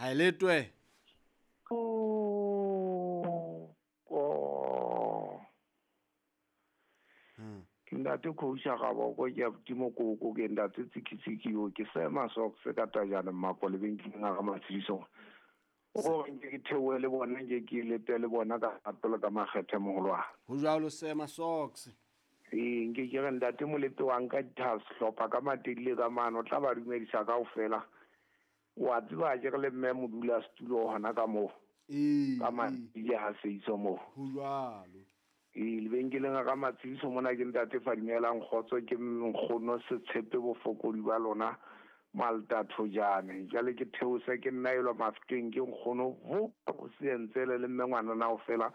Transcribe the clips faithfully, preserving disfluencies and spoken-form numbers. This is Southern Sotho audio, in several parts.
Ha e letwe. Ke ntate Khousha Gaboko ke abuti Mokoko ke ntate Tsikitsiki yo ke sema socks ka tajana mmapo lebenkeleng a ga Matshediso. O gore nke ke theohe le bona nke ke lete le bona ka rato le ka makgethe mogolo wa. Ho jwalo sema socks. Ee nke ke re ntate Molepe wa nka dithas hlopha ka matedile ka mano tla ba dumedisa kaofela. Wa tseba ke re le mme modula setulo hona ka moo. Ee. Ka matedile ha seiso moo. Ho jwalo. Ee lebenkeleng ga Matshediso mona ke ntate Fadimelang Kgotso ke nkgono Setshepe bofokodi ba lona Malta Thojane. Jwale ke theose ke nna elwa Mafeteng ke nkgono vo go sentsele le mme ngwana na ofela.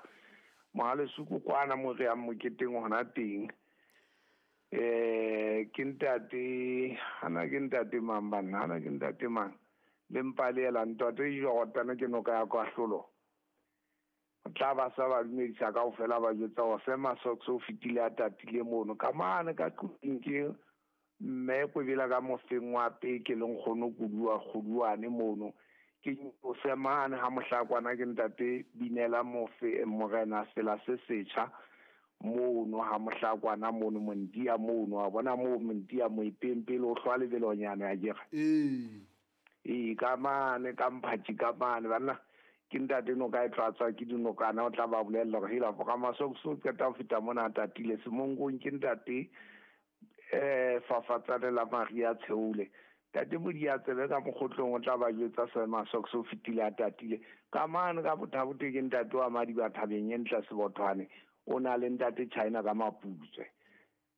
Mohale suku kwana mo re yang moketeng hona teng. Eh ke ntate hana ke ntate mang banna hana ke ntate mang le mpalela ntate Jordana ke noka ya kwahlolo. Tla ba sa ba dumedisa kaofela ba jwetsa hore sema socks o fetile a tatile mono ka mane ka tlung ke mme Kwebela ka mofeng wa peke le nkgono Kudua Kgoduane mono ke o semane ha mohlakwana ke ntate Binela Mofe morena sela se setjha mono ha mohlakwana mono Mondia mono wa bona mo Mondia moipempele o hlwa lebelonyana ya jere ee ee ka mane ka mphatsi ka mane banna ke ntate no ka e tlatswa ke dinokana o tla ba bolella hore hela ka masoko so qeta ho feta mona tatile semonkong ke ntate eh fafatsane la Maria Tsheole ntate Modia tsebe ka mokgotlong o tla ba jwetsa sema socks o fetile a tatile ka mane ka bothabote ke ntate wa Madiba thabeng e ntle Sebothwane o na le ntate China ka Maputswe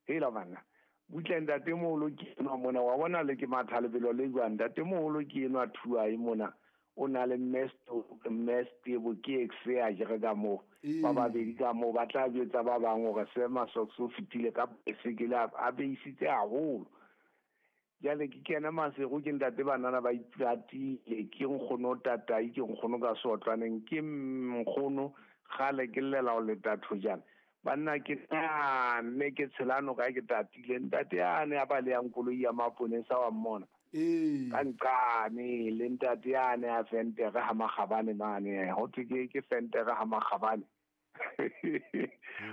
hela bana butle ntate moholo ke enwa mona wa bona le ke matha lebelo le jwang ntate moholo ke enwa thuae mona o na le mmesto mmestebo ke exe a jere ka moo ba babedi ka moo ba tla jwetsa ba bang hore sema socks o fetile ka baesekele a beisitse haholo. Jwale ke kena Maseru ke ntate banana ba ipatile ke nkgono tatai ke nkgono ka seotlwaneng ke nkgono kgale ke llela ho leta thojana banna ke nne ke tshelano ka ke tatile ntate yane a balehang koloi ya maponesa wa mmona. Ee. Ka nqane le ntate yane a fentere ha makgabane mane ho thwe ke ke fentere ha makgabane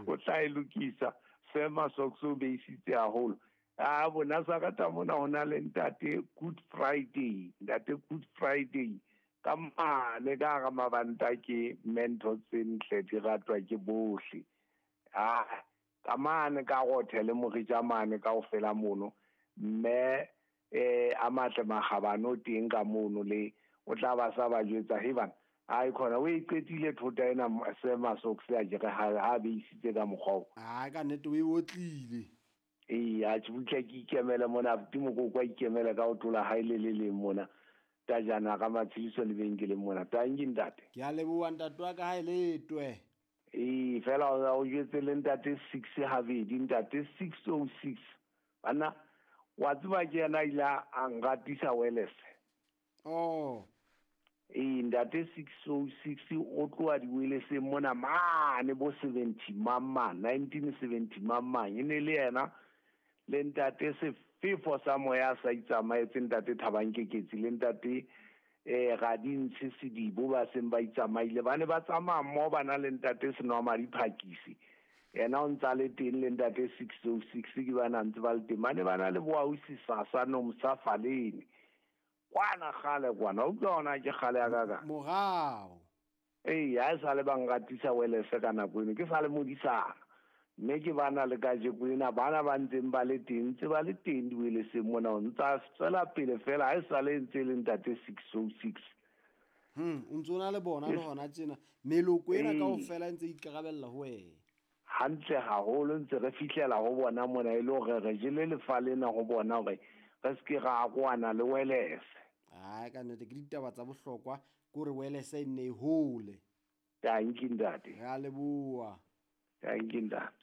o tla e lokisa sema socks o beisitse haholo. A bona sa ka mona hona le ntate Good Friday ntate Good Friday ka mane ka ga mabanta ke mentho tse ntle di ratwa ke bohle. Ah ka mane ka gothe le moritja mane kaofela mono mme eh a matle magabane o teng ka mono le o tla ba sa ba jwetsa he bana ai khona o e qetile thota ena sema socks ya jere ha ha beisitse ka mokgwa o. Ah ka nnete o e otlile. Ee a tshubutla ke ikemele mona abuti Mokoko a ikemele ka ho tlola hae le le leng mona tajana ka Matshediso lebenkeleng mona tanki ntate. Ke a leboha ntate wa ka ha e letwe. Ee fela o jwetse le ntate six habedi ntate six oh six bana wa tseba ke yena ile a ngatisa wireless. Oh. Ee ntate six oh six o tloha di-wirelesseng mona mane bo seventy mama nineteen seventy mama e ne le yena le ntate Sefefo sa moya sa itsamaetse ntate Thabang Keketsi le ntate eh Radintshi Sedibo ba seng ba itsamaile ba ne ba tsamaya mmoho ba na le ntate Senwamadi Phakisi yena o ntsa le teng le ntate six oh six ke ba na ntse ba le teng ba ne ba na le boausi Sasa Nomsa Faleni kwana kgale kwana o utlwa hona ke kgale ya ka ka morao. Ee ha e sale ba ngatisa wireless ka nako eno ke sale modisana mme ke bana le kajeko ena bana ba ntseng ba le teng ntse ba le teng di-wirelesseng mona o ntsa tswela pele fela ha e sale ntse e le ntate six oh six. Hmm o ntso na le bona le hona tjena meloko ena kaofela e ntse ikarabella ho wena hantle haholo ntse re fihlela ho bona mona e le hore re jele lefa lena ho bona hore re se ke ra kwana le wireless. Ai ka nnete ke ditaba tsa bohlokwa ke hore wireless e nne e hole. Tanki ntate. Re a leboha. Tanki ntate.